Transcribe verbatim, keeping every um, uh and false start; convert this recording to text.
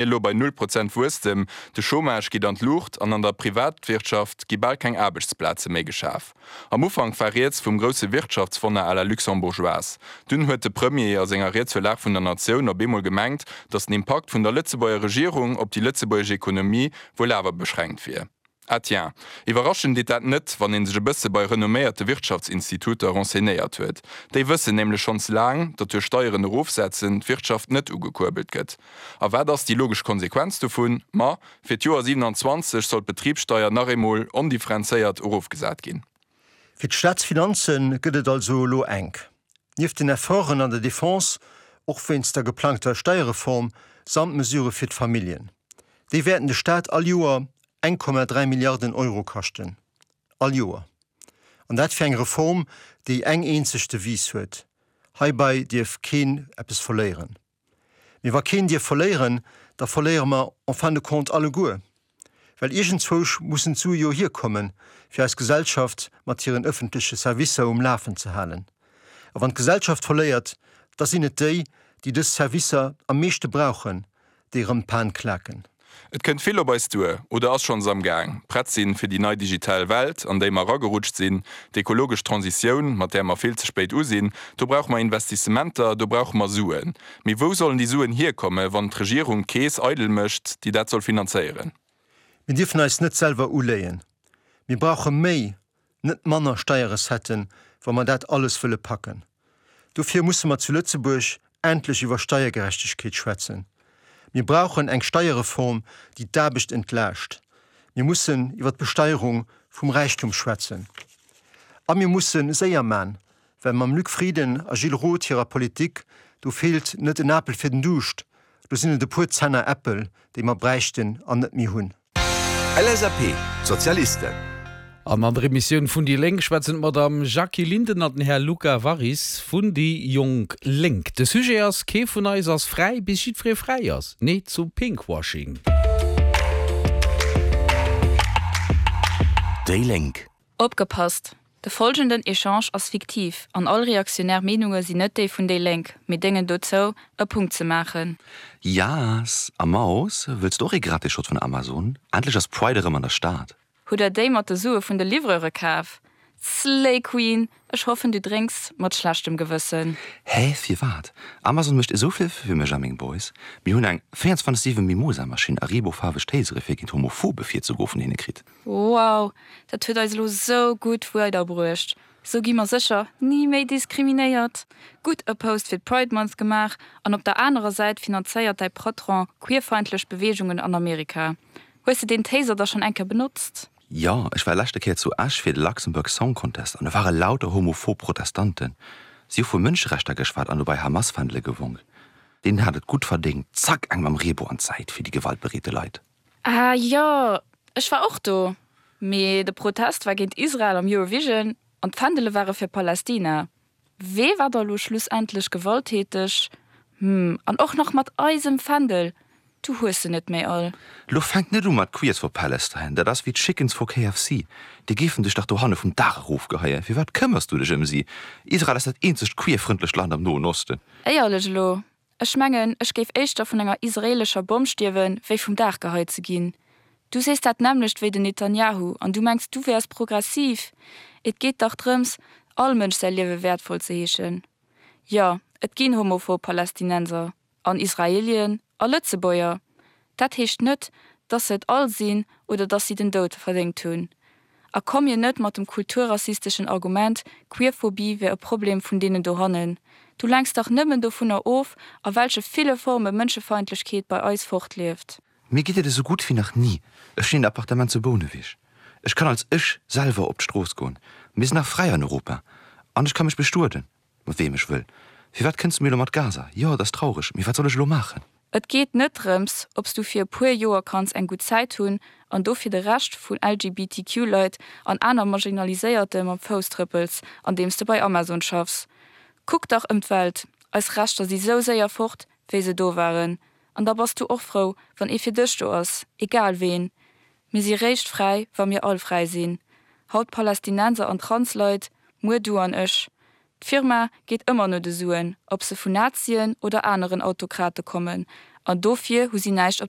elo bei null Prozent Wuesstem, de Chômage geet an d'Luucht an an der Privatwirtschaft gi bal keng Aarbechtsplaze méi geschaf. Am Ufank war rieds vum grousse Wirtschaftswonner à la luxembourgeoise. Dunn huet de Premier a senger Ried zur Lag vun der Natioun op eemol gemengt, datt den Impakt vun der Lëtzebuerger Regierung op déi lëtzebuergesch Ekonomie wuel awer beschränkt wier. Ah tiens, iwwerraschen deet dat net, wann ee sech e bësse bei renomméierte Wirtschaftsinstituter renseignéiert huet. Déi wëssen nämlech schonns laang, datt duerch Steieren erofsetzen d'Wirtschaft net ugekuerbelt gëtt. A wat ass déi logesch Konsequenz dovun? Ma fir d'Joer siewenanzwanzeg soll d'Betribssteier nach eemol ondifferenzéiert erofgesat ginn. Fir d'Staatsfinanze gëtt et also elo enk. Nieft den Efforten an der Defense, och wéinst der geplangter Steierreform, samt Mesurë fir d'Familljen. Déi wäerten de Staat all Joer eng Komma dräi Milliarden Euro kaschten. All Joer. An dat fir eng Reform, déi eng eenzeg Devise huet, Heibei dierf keen eppes verléieren. Mee wa keen dierf verléieren, da verléiere mer en fin de compte alleguer. Well iergendzwousch mussen d'Sue jo hierkommen, fir eis Gesellschaft mat hiren ëffentleche Servicer um Lafen ze halen. A wann d'Gesellschaft verléiert, da sinn et déi, déi dës Servicer am meeschte brauchen, déi erëm d'Pan klaken. Et kënnt vill op eis duer, oder ass schonns am Gaang. Prett sinn fir déi nei digital Welt, an déi mer eragerutscht sinn, d'ekologesch Transitioun, mat där mer vill ze spéit u sinn. Do brauche mer Investissementer, do brauche mer Suen. Mee wou sollen déi Suen hierkommen, wann d'Regierung d'Keess eidel mécht, déi dat soll finanzéieren? Mir dierfen eis net selwer uléien. Mir brauche méi, net manner Steierrecetten, wa mer dat alles wëlle packen. Dofir musse mer zu Lëtzebuerg endlech iwwer Steiergerechtegkeet schwätzen. Mir brauchen eng Steierreform, déi d'Aarbecht entlaascht. Mir mussen iwwer d'Besteierung vum Räichtum schwätzen. A mir musse séier man, well mam Luc Frieden a Gilles Roth hirer Politik, do feelt net en Apel fir den Duuscht, do sinn et e puer Zenner Äppel, déi mer bräichten an net méi hunn. L S A P, D'Sozialisten. An an der Emissioun vun déi Lénk schwätzen d'Madame Jackie Linden an den Här Luca Warris vun déi Jonk Lénk. De Sujet ass, Kee vun eis ass fräi, bis jiddweree fräi ass. Nee zum Pinkwashing. Déi Lénk. Opgepasst! De folgenden Echange ass fiktiv an all reaktionär Meenunge sinn net déi vun déi Lénk, mee déngen dozou, e Punkt ze maachen. Yaass! A Maus, wëlls de och ee gratis Shot vun Amazon? Endlech ass Pride erëm an der Stad! Hutt der déi mat de Sue vun de Livreure kaf? Slay Queen, ech hoffen du drénks mat schlechtem Gewëssen. Hä, firwat? Amazon mécht esou vill fir mech a meng Boys. Mir hunn eng véierundzwanzeg siwen Mimosa Maschinn a reeboufaarweg Tasere fir géint Homophobe virzegoe vun hinne kritt. Wow, dat huet eis elo sou gutt weiderbruecht. Sou gi mer sécher ni méi diskriminéiert. Gutt e Post fir d'Pride Month gemaach an op der anerer Säit finanzéiert däi Patron queerfeindlech Beweegungen an Amerika. Hues de deen Taser da schonn eng Kéier benotzt? Jo, ech war leschte Kéier zu Esch fir de Luxembourg Song Contest an do ware lauter homophob Protestanten. Si hu vu Mënscherechter geschwat an dobäi Hamas-Fändele gewonk. Deen hat et gutt verdéngt, zack eng mam Reebou an d'Säit fir déi gewaltbereete Leit. Ah jo, ech war och do. Mee de Protest war géint Israel am Eurovision an d'Fändele ware fir Palästina. Wee war da lo schlussendlech gewalttäteg? Hm, an och nach mat eisem Fändel. Du hues se net méi all. Lo fänk net u mat Queers for Palestine, dat ass wéi d'Chickens for K F C. Déi géifen dech dach dohanne vum Daach erofgeheien. Firwat këmmers du dech ëm si? Israel ass dat eenzegt queerfrëndlecht Land am Noen Osten. Éierlech elo, ech mengen, ech géif éischter vun enger israeelescher Bomm stierwen, wéi vum Daach geheit ze ginn. Du sees dat nämmlecht wéi den Netanyahu an du mengs du wäers progressiv. Et geet dach drëms, all Mënsch säi Liewe wäertvoll ze heeschen. Jo, et ginn homophob Palästinenser an Israelien a Lëtzebuerger. Dat heescht net, dass se et all sinn oder dass si den Doud verdéngt hunn. A komm mir net mat dem kulturrassisteschen Argument, Queerphobie wär e Problem vun deenen dohannen. Du lenks dach nëmmen dovunner of, a welche ville Forme Mënschefeindlechkeet bei eis fortlieft. Mir geet et esou gutt wéi nach ni. Ech hunn een Appartement zu Bouneweg. Ech kann als ech selwer op d'Strooss goen. Mir sinn nach fräi an Europa. An ech ka mech bestueden, mat weem ech wëll. Firwat kënns du mir elo mat Gaza? Jo, et ass traureg, mee wat soll ech elo maachen? Et geet net drëms, ob s du fir e puer Joer kanns eng gutt Zäit hunn an dofir de Rescht vun L G B T Q Leit an aner Marginaliséierte mam Fouss trëppels, andeems de bei Amazon schaffs. Kuck dach ëm d'Welt, eis Rechter si sou séier fort, wéi se do waren. An da bass du och frou, wann ee fir dech do ass, egal ween. Mir si réischt fräi, wa mir all fräi sinn. Haut Palästinenser an Transleit, muer du an ech. D'Firma geet ëmmer no de Suen, ob se vun Nazien oder aneren Autokrate kommen. An dofir hu si näischt op der